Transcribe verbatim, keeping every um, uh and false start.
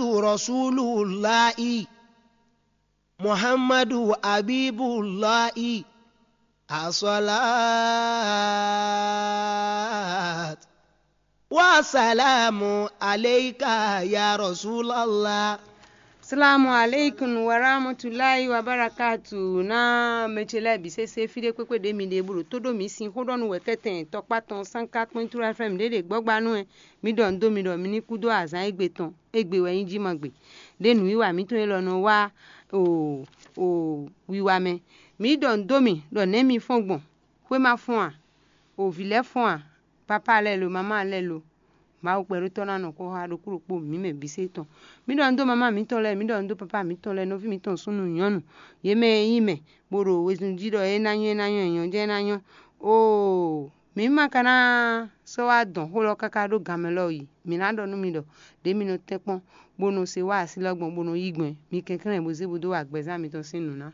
Rasulullahi, Muhammadu Habibullahi, as-salat wa salamu alayka ya Rasulallah. Salamu alaikum wa rahmatulahi wa barakatu. Na mɛ ce lɛ́ɛ bǐ sésé fí ɖé kpékpé ɖě mi ɖe bó ɖo tó ɖó mǐ sin xó ɖɔ nú wɛ̌kɛ́tɛn tɔkpá tɔn sánká kpɔ́n True F M ɖě ɖe gbɔ́gba nú wɛ. Mi ɖɔ nǔ dó mi ɖɔ mi ní kú dó azǎn égbé tɔn, égbé wɛ nyí jí ma gbe. Ɖě nǔwiwa mǐtɔn élɔ́ nɔ wá o o wiwa mɛ. Mi ɖɔ nǔ dó mi ɖɔ nɛ̌ mi fɔ́n gbɔn? Xwé ma fɔ́n a? O vǐ lɛ́ɛ fɔ́n a? Papá lɛ́ɛ lo, mamá lɛ́ɛ lo? Mawu kpɛɖótɔ́ ná nɔ xó xá ɖokpó ɖokpó mǐ mɛ bǐ sé tɔn. Mi ɖɔ nǔ dó mamá mǐtɔn lɛ́ɛ, mi ɖɔ nǔ dó papá mǐtɔn lɛ́ɛ, nɔví mǐtɔn súnnu nyɔ̌nu, yě mɛ e nyí mɛ, bó ɖo wezun jí ɖɔ é ná nyɔ́, é ná nyɔ́, é nyɔ́ jɛ́n é ná nyɔ́. Oo, mǐ ma ka ná sɔ́ wá dɔn xó lɔ káká ɖó gan mɛ lɔ yi. Mǐ ná ɖɔ nú mi ɖɔ ɖě mi nɔ tɛ́nkpɔ́n, bó nɔ se wá así lɔ gbɔn, bó nɔ yí gbɔn, mi kɛnklɛ́n bó zé bó dó wa gbɛzán mitɔn sín nǔ ná.